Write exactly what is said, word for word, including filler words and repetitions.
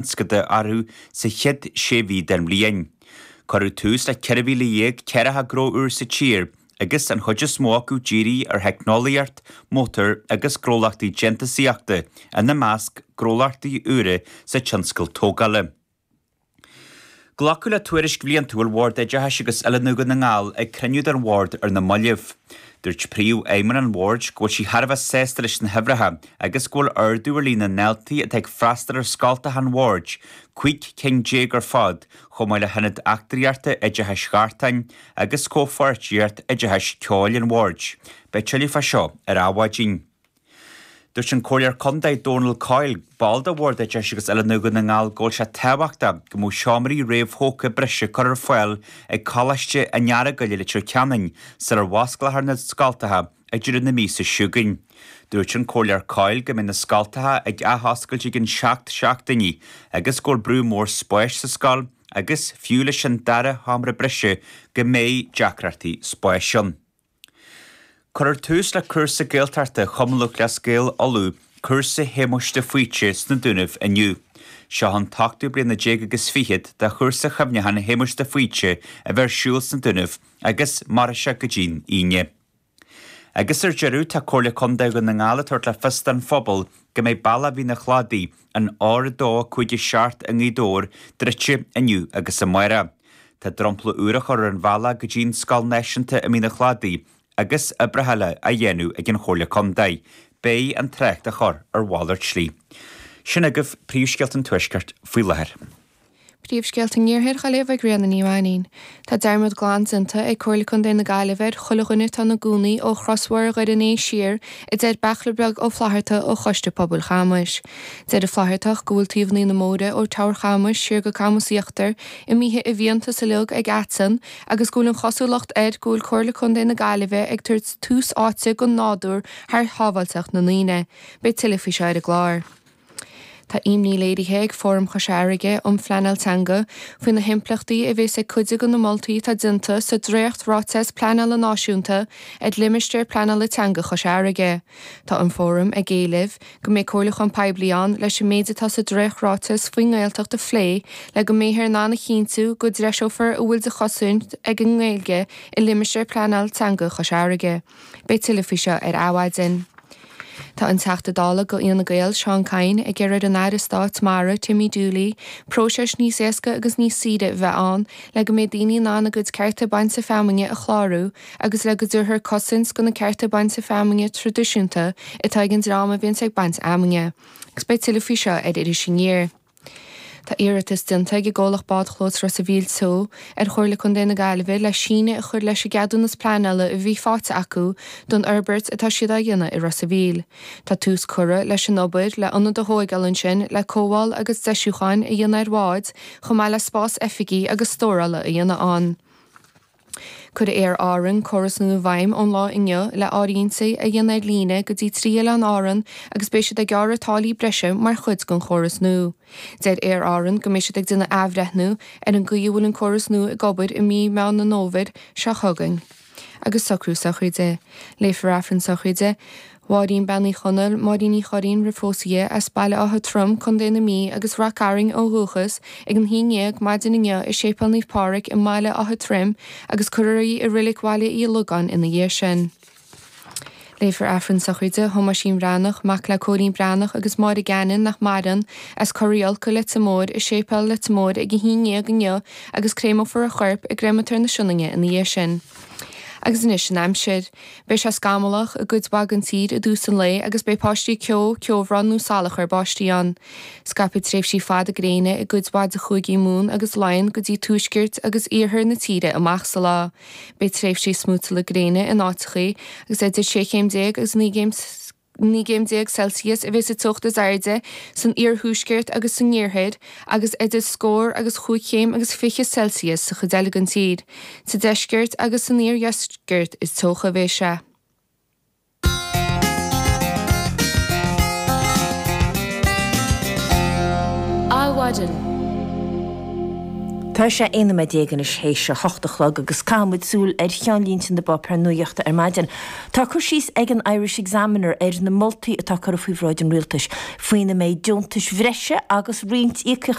tionscadal orthu sa chéad sé mhí den bhliain. Cuireadh tús le ceithre mhíle dhéag ceathracha gnó úr sa tír agus an chuid is mó acu dírithe ar theicneolaíocht, mótair agus gnólachtaí déantúsaíochta, ina measc gnólachtaí úra sa tionscal tógála. Glacadh le tuairisc bhliantúil Bhord Oideachais agus Oiliúna Dhún na nGall ag cruinniú den Bhord ar na mallaibh. Dúirt Príomhfheidhmeannach an Bhoird go bhfuil sí thar a bheith sásta leis na huimhreacha agus go bhfuil ardú ar líon na ndaltaí atá ag freastal ar scoltacha an Bhoird, cúig cinn déag ar fad, chomh maith le hIonad Eachtraíochta Oideachais Ghartáin agus Comhpháirtíocht Oideachais Ceoil an Bhoird. Beidh tuilleadh fá seo ar Adhmhaidin. Dúirt an Comhairleoir Contae Dónal Coyle, ball de Bhord Oideachais agus Oiliúna Dhún na nGall go bhfuil sé tábhachtach go mbeadh seomraí réamhthógtha breise curtha ar fáil ag Coláiste an Earagail i Leitir Ceanainn sular osclófar na scoltacha ag deireadh na míosa seo chugainn. Dúirt an Comhairleoir Coyle go mbeidh na scoltacha ag athoscailt i gcionn seacht seachtainí agus go bhfuil brú mór spáis sa scoil agus, fiú leis an dara sheomra breise, go mbeidh deacrachtaí spáis ann. Cuirfear tús le cúrsa Gaeltachta Chumann Lúthchleas Gael Uladh, Cúrsa Shéamuis de Faoite, sna Dúnaibh inniu. Seo an t-ochtú bliana déag agus fichead de chúrsa chuimhneacháin Shéamuis de Faoite a bheith ar siúl sna Dúnaibh agus mairfidh sé go dtí'n Aoine. Agus ar deireadh, tá Comhairle Contae Dhún na nGall ag tabhairt le fios don phobal go mbeidh bealach Mhín an Chladaigh, an R a dó cúig a seacht i nGaoth Dobhair, druidte inniu agus amárach. Tá dromchla úr á chur ar an bhealach go dtí'n Scoil Náisiúnta i Mín an Chladaigh agus oibreacha eile á dhéanamh ag an Chomhairle Contae. Beidh an trácht á chur ar mhalairt slí. Sin agaibh príomhscéalta an Tuaiscirt faoi láthair. Príomhscéalta an Iarthair á léamh ag Ríona Ní Mhainín. Tá dearmad glan déanta ag Comhairle Contae na Gaillimhe ar chuile dhuine atá ina gcónaí ó chrosbhóthar Dhoire an Fhéich siar, a deir Beachla Beag Ó Flaithearta ó Choiste Pobail Chamais. Deir an Flaitheartach go bhfuil taobhanna na mbóithre ó Teamhair Chamais siar go Camas Íochtar imithe i bhfiántas uilig ag aiteann agus go bhfuil an chosúlacht air go bhfuil Comhairle Contae na Gaillimhe ag tabhairt tús áite don nádúr thar shábháilteacht na ndaoine. Beidh tuilleadh faoi seo ar an gclár. Tá imní léirithe ag Fóram Chois Fharraige um Phleanáil Teanga faoi na himpleachtaí a bheas ag cuid de na moltaí atá déanta sa dréacht-ráiteas pleanála náisiúnta ar Limistéar Pleanála Teanga Chois Fharraige. Tá an Fóram ag éileamh go mbeidh comhairliúchán poiblí ann leis an méid atá sa dréacht-ráiteas faoin nGaeltacht a phlé le go mbeifear in ann a chinntiú go dtreiseofar a bhfuil de chosaint ag an nGaeilge i Limistéar Pleanála Teanga Chois Fharraige. Beidh tuilleadh faoi seo ar Adhmhaidin. Tá an Teachta Dála do Fhianna Gael, Seán Kyne, ag iarraidh ar an Aire Stáit Mara, Timmy Dooley, próiseas níos éasca agus níos saoire a bheith ann le go mbeidh daoine in ann a gcuid cearta bainte feamainne a chlárú agus le go dtabharfar cosaint do na cearta bainte feamainne traidisiúnta atá ag an dream a bhíonns ag baint fheamainne. Agus beidh tuilleadh faoi seo ar Iris Aniar. Tá iarratas déanta ag an gcomhlacht Bádchlós Ros a' Mhíl Teo ar Chomhairle Contae na Gaillimhe le síneadh a chur leis an gceadúnas pleanála a bhí faighte acu don fhorbairt atá siad á dhéanamh i Ros a' Mhíl. Tá tús curtha leis an obair le ionad a thóigeáil ansin le cothabháil agus deisiúcháin a dhéanamh ar bháid chomh maith le spás oifigí agus stórála a dhéanamh ann. Cuirfidh Aer Árann córas nua i bhfeidhm ón lá inniu le áirithintí a dhéanamh ar líne go dtí trí oileán Árann agus beidh siad ag gearradh táillí breise mar chuid den chóras nua. Deir Aer Árann go mbeidh siad ag déanamh athbhreithniú ar an gcaoi a bhfuil an córas nua ag obair i mí Meán an Fhómhair seo chugainn. Agus socrú sochraide. Léifear Aifreann sochraide Mháirín Bean Uí Chonaill, Máirín Uí Churraoin roimh phósadh di, as Baile Átha Troim, Contae na Mí, agus Rath Cairn ó dhúchas, ag an haon dhéag maidin inniu i Séipéal Naomh Pádraig i mBaile Átha Troim agus cuirfear í i Reilig Bhaile Uí Logáin ina dhiaidh sin. Léifear Aifreann sochraide Thomáisín Bhreathnach, mac le Cóilín Breathnach agus Máire Gannon, nach maireann, as Corr Uí Olca, Leitir Móir, i Séipéal Leitir Móir ag a haon dhéag inniu agus créamófar a chorp i gCreamatóir na Sionainne ina dhiaidh sin. Agus anois an aimsir. Beidh sé scamallach i gcuid mhaith den tír i dtús an lae agus beidh paistí ceo, ceobhrán nó salachar báistí ann. Scaipfidh tréimhsí fada gréine i gcuid mhaith de chúigí Mumhan agus Laighean go dtí tuaisceart agus iarthar na tíre amach sa lá. Beidh tréimhsí smúiteála gréine in áiteachaí agus idir sé chéim déag agus naoi gcéim naoi gcéim déag Celsius a bheidh sa teocht is airde san iarthuaisceart agus san iarthar agus idir scór agus chúig chéim agus fiche Celsius sa chuid eile den tír. Sa deisceart agus san iardheisceart is teocha a bheidh sé. Adhmhaidin. Tá sé aon nóiméad déag anois théis a hocht a chlog agus caithfimid súil ar cheannlínte na bpáipéar nuachta ar maidin. Tá cur síos ag an Irish Examiner ar na moltaí atá curtha faoi bhráid an rialtais faoina mbeidh deontais bhreise agus roinnt íocaíochtaí